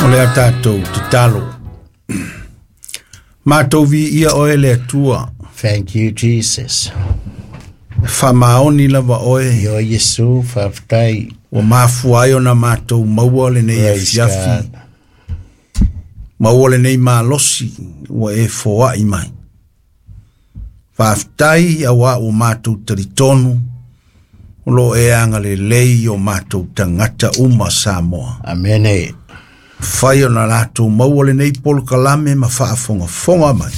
O le a tatou tatalo. Matou viia oe le Atua. Thank you, Jesus. E faamaoni lava oe. Io Iesu, faafetai. Ua mafua ai ona matou maua lenei Praise afiafi. God. Maua lenei malosi ua e foai mai. Faafetai auā ua matou talitonu o lo o e agalelei i o matou tagata uma Samoa. Amene. Fai ona latou maua lenei polokalame ma faafogafoga mai.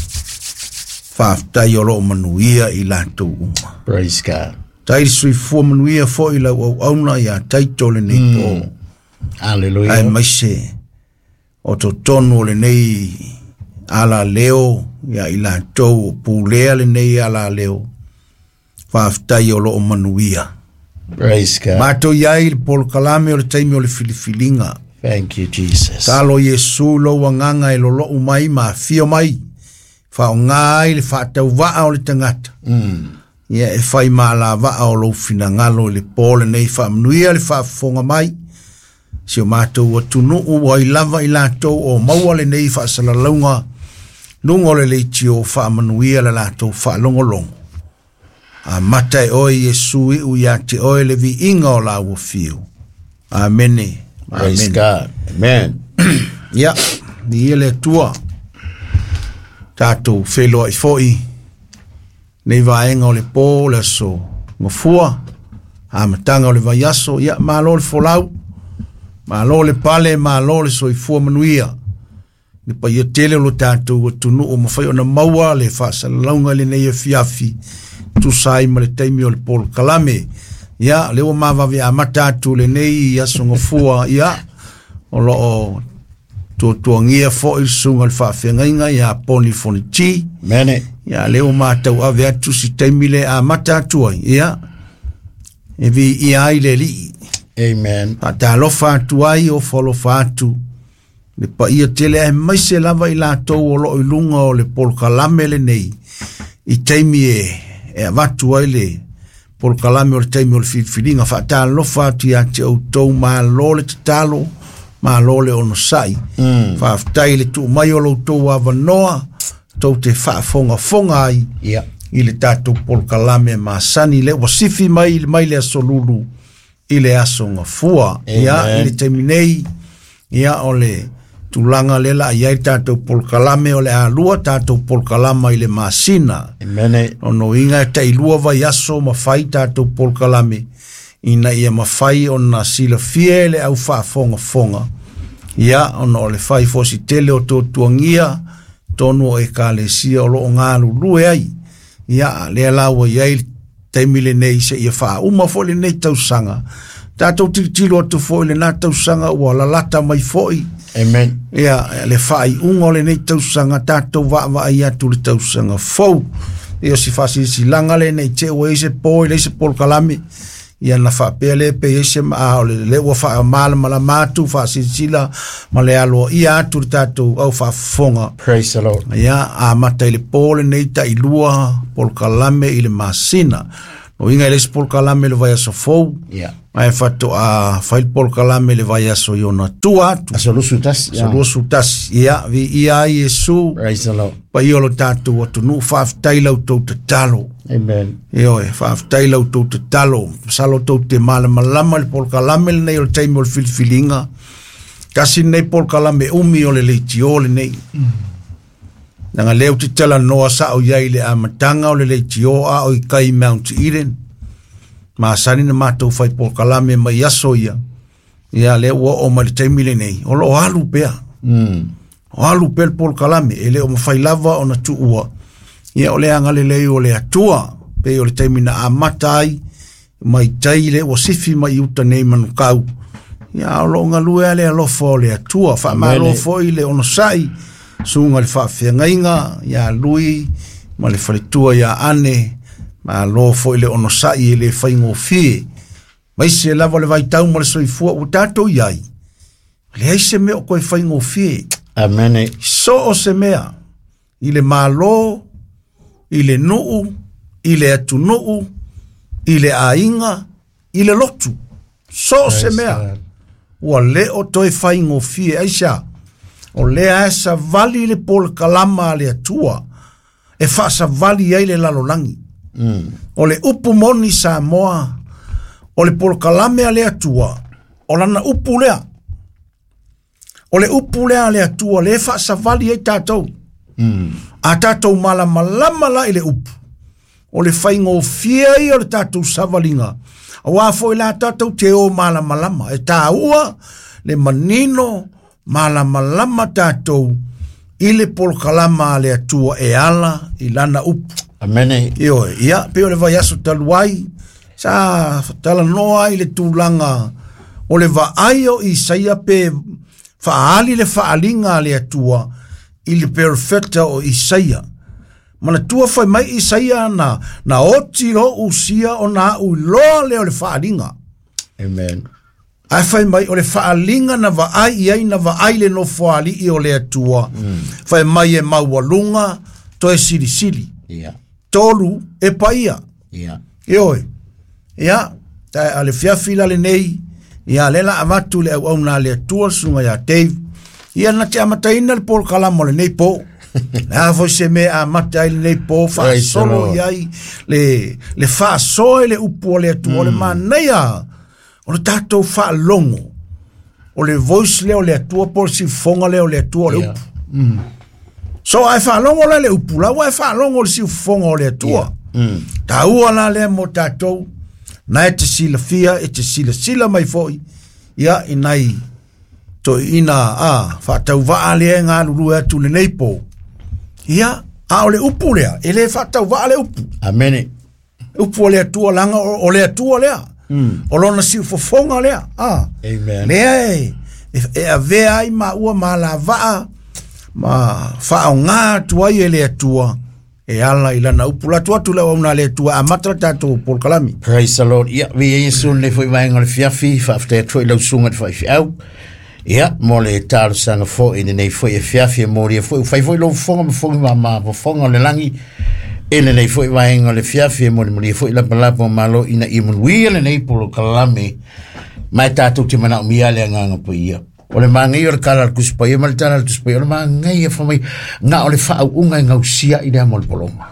Faafetai o lo o manuia i latou uma. Praise God. Tai le soifua manuia foi lau auauna ia Taito lenei po. Hallelujah. Aemaise o totonu o lenei alaleo ia i latou o pulea lenei alaleo. Faafetai o lo o manuia. Praise God. Matou i ai le polokalame o le taimi o le filifiliga. Thank you, Jesus. Talo Iesu lou agaga e lolou mai ma afio mai. Faaaoga ai le faatauvaa o le tagata. Ia e fai malavaa o lou finagalo i le po lenei faamanuia le faafofoga mai. Si o matou atunuu ua ai lava i latou o maua lenei faasalalauga luga o le leitio faamanuia le latou faalogologo. Amata e oe Iesu iu ia te oe le viiga o lau afio. Amene. Praise Amene. God. Amen. Ia, viia le Atua. Tatou feiloai foi nei vaega o le po, le aso gafua, amataga o le vaiaso. Ia, malo le folau, malo le pale, malo le soifua manuia. Le paia tele o lo tatou atunuu mafai ona maua le faasalalauga i lenei afiafi, tusa ai ma le taimi o le polokalame. Ia, lea ua mavave amata atu lenei aso gafua, ia, o lo o tuatuagia foi le susuga i le faafeagaiga ia Poni Foniti. Amen. Ia, lea ua matau ave atu si taimi le amata atu ai. Ia, e viia ai le Alii. Amen. Faatalofa atu ai o falofa atu le paia tele aemaise lava i latou o lo o i luga o le polokalame lenei i taimi e avatu ai le polokalame o le taimi o le filifiliga. Faatalofa atu ia te outou, malo le tatalo, malo le onosai. Faafetai le tuu mai o lo outou avanoa tou te faafogafoga ai Yeah. i le tatou polokalame masani le ua sifi mai mai le aso Lulu i le aso Gafua. Ia, i le taimi nei, ia, o le tulaga lea la i ai le tatou polokalame o le alua tatou polokalama i le masina. Amen. Ono inga e tailua vaiaso ma fai tatou polokalame ina ia mafai ona silafia e le au faafogafoga. Ia, ona o le fai fosi tele o tuatuagia tonu o ekalesia o lo o galulue ai. Ia, lea la ua i ai le taimi lenei seia faauma foi lenei tausaga. Tatou tilotilo atu foi lena tausaga ua lalata mai foi. Amen. Ia, le faaiuga o lenei tausaga, tatou vaavaai atu le tausaga fou. Ia, o si faasilasilaga lenei te ua i ai se po i leai se polokalame. Ia na faapea le pe i ai se a o le ua faamalamalama atu faasilasila ma le aloaia atu le tatou au faafofoga. Praise the Lord. Ia, amata i le po lenei tailua polokalame i le masina. No inga i le isi polokalame i le vaiaso fou. Yeah. Ae faatoa fai le polokalame i le vaiaso i ona tua atu. Aso 21. Aso 21. Ia, viia ai Iesu. Praise the Lord. Paia o lo tatou atunuu, faafetai lau tou tatalo. Amen. Ioe, faafetai lau tou tatalo. Masalo tou te malamalama le polokalame lenei o le taimi o le filifiliga. Tasi lenei polokalame umi o le leitio lenei. Leaga lea ou te talanoa sao i ai i le amataga o le leitio a o i kai Mount Eden. Masani na matou fai polokalame mai aso ia. Ia, lea ua oo mai le taimi lenei, o lo o alu pea. O alu pea le polokalame, e le o mafai lava ona tuua. Ia, o le agalelei o le Atua, pei o le taimi na amata ai, mai tai le ua sifi mai uta nei Manukau. Ia, o lo o galue a le alofa o le Atua. Faamalo Amen. foi le onosai, susuga i le faafeagaiga ia Lui ma le faletua ia Ane. Malo foi le onosai e le faigofie. Maise lava le vaitau ma le soifua ua tatou i ai. Leai se mea o koe faigofie. Amen. So o se mea, i le malo, i le nuu, i le atunuu, i le aiga, i le lotu. So o se mea, God. ua le o toe faigofie. Aisea, O lea e savali le polokalama a le Atua e faasavali ai le lalolagi. O le upu moni Samoa, o le polokalame a le Atua, o lana upu lea. O le upu lea a le Atua le faasavali ai tatou. A tatou malamalama la i le upu, o le faigofie ia o le tatou savaliga, auā foi la tatou te o malamalama, e tāua le manino malamalama tatou i le polokalama a le Atua e ala i lana upu. Amene. Ioe, ia, pe o le vaiaso talu ai, sa talanoa ai le tulaga o le vaai o Isaia pe faaali le faaliga a le Atua i le perofeta o Isaia. Manatua fai mai Isaia na oti lo usia o na au iloa lea o le faaliga. Amen. Ae fai mai o le faaliga na vaai i ai na vaai le nofoalii o le Atua. Fai mai e maualuga toe silisili. Ia. Tolu e paia. Ia. Ioe. Ia, ta a le fiafi la lenei, ia le la avatu le auauna a le Atua le susuga ia Dave. Ia na te amataina le polokalama o lenei po. Le a foi se mea amata ai lenei po, faasolo i ai le faasoa i le upu o le Atua, o le manaia o le tatou faalogo, o le voice lea o le Atua po o le siufofoga lea o le Atua o le upu. So ae faalogo la le upu, la ua e faalogo le siufofoga o le Atua. Taua la lea mo tatou, na e te silafia, e te silasila mai foi, ia i nai toeaiina faatauvaa lea e galulue atu lenei po. Ia, a o le upu lea, e le faatauvaa le upu. Amene. Upu o le Atua laga o le Atua lea. O lona siufofoga lea. Amen. Lea e avea ai maua ma alavaa ma faaaoga atu ai e le Atua e ala i lana upu. Latu atu le auauna a le Atua, amata le tatou polokalame. Praise the Lord. Ia, vi Iesu lenei foi vaega o le fiafi, faafetai atu foi i lau susuga i le faifeau. Ia, mo le talosaga foi i lenei foi afiafi e molia foi, ua fai foi lou fofoga ma fogi ma fofoga o le lagi i lenei foi vaega o le fiafi e molimoli foi lapalapa o malo ina ia manuia lenei polokalame ma e tatou te manaomia le agaga paia. O le manaia o le tala a le Tusi Paia ma le tala a le Tusi Paia, o le manaia fai mai na o le faauuga e gausia i lea mo le poloma.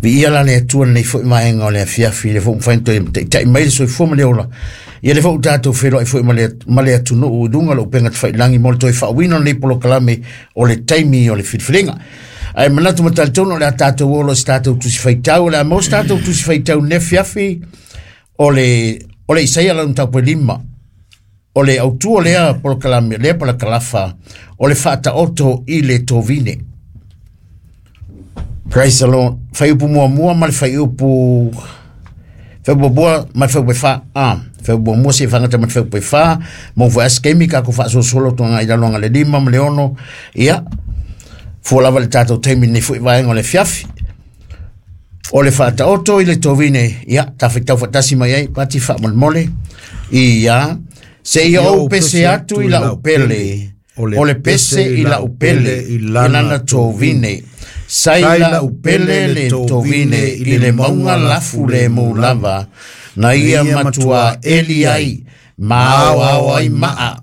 Viia la le Atua lenei foi vaega o le afiafi, le foi mafai ona toe taitai mai le soifua ma le ola. Ia le foi ua tatou feiloai foi ma le atunuu i luga o le upega tafailagi mo le toe faauuina o lenei polokalame o le taimi o le filifiliga. Ae manatu ma talitonu o le a tatou olo i se tatou tusi faitau, o le a maua se tatou tusi faitau nei afiafi o le Isaia lona mataupu e 5. O le autu o lea polokalame, lea palakalafa, o le faataoto i le tovine. Praise the Lord. Faiupu muamua ma le faiupu muamua ma le faiupu e fa. Faiupu muamua se whangata ma le faiupu e fa. Mo fo askemi ka ko faasosolo tuanga i laloanga le 5 ma le 6. Ia, fua lava le tatou taimi nei foi vaega o le fiafi. O le faataoto i le tovine, ia, tawhitau whatasi mai ai, pati whaamolemole. Ia, se ia ou pese atu i lau pele, o le pese i lau pele, i lana tovine. Sai lau pele le tovine i le maunga lafu le mu lava, na ia matua eli ai, ma ao ao ai maa,